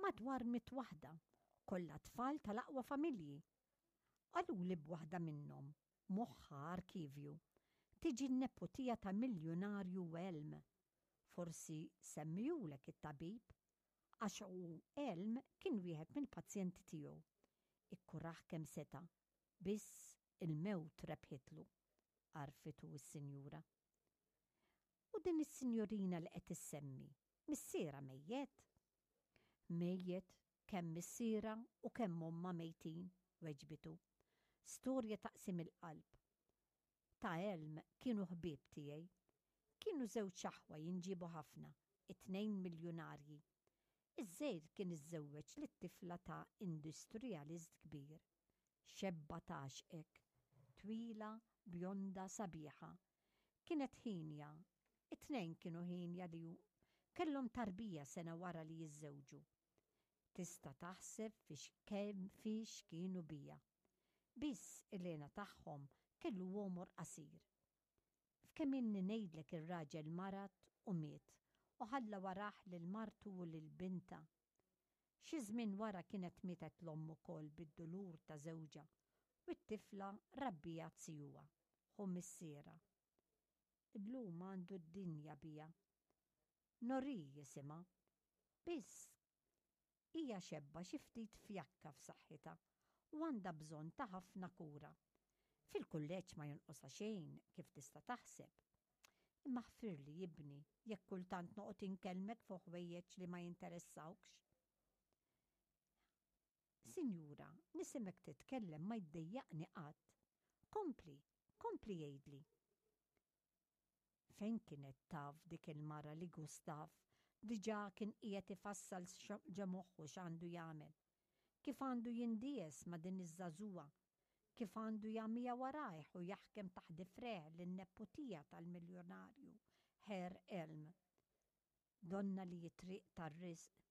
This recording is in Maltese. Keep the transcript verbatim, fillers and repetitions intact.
Madwar mitt waħda, kollha tfal tal-aqwa familji. Qaluli b'waħda minnhom, moħħha arkivju, tiġi n-neputija ta' miljunarju Elm. Forsi semmihulek it-tabib, għax u Elm kien wieħed mill-pazjenti tiegħu. Ikkurah kemm seta', biss il-mewt rebħitlu, għarfitu s-sinjura. U din is-sinjorina li qed issemmi, missiera mejjet? Mejjet, kemm missiera u kemm omma mejtin, weġbitu. Storja taqsim il-qalb. Ta' Elm kienu ħbieb tiegħi. Kienu żewġ aħwa jinġibu ħafna, it-tnejn miljunarji. Iż-żgħir kien iżżewweġ lit-tifla ta' industrialist kbir. Xebba tgħaxxqek, twila, bjonda, sabiħa. Kienet ħinja, it-tnejn kienu ħinja li kellhom tarbija sena wara li jiżżewġu. Tista' taħseb fiex kemm fiex kienu bija. Biss il-hena tagħhom kellu għomor qasir. F'kemm inni ngħidlek ir-raġel marad u miet u ħalla warah lil martu u lil bintha. Xi żmien wara kienet mietet l-omm ukoll bid-dulur ta' żewġha u t-tifla rabbiha zijuha, ħu missierha. Illum għandu d-dinja bija. Nori jisimha. Biss hija xebba xi ftit fjakka f'saħħitha u għandha bżonn ta' ħafna kura. Fil-kulleġġ ma jonqosha xejn kif tista' taħseb. Imma ħfirli ibni jekk kultant noqgħod inkellmek fuq ħwejjeġ li ma jinteressawkx. Sinjura, nisimek titkellem ma jdejjaqni qatt. Kompli, kompli jgħidli. Fejn kienet taf dik il-mara li Gustav diġà kien qiegħed ifassal ġo moħħu x'għandu jagħmel? Kif għandu jindies ma' din iż-żagħżugħa? Kif għandu jagħmiha warajh u jaħkem taħt difrejh lin-neputija tal-miljonarju Herr Elm? Donna li t-triq tar-risq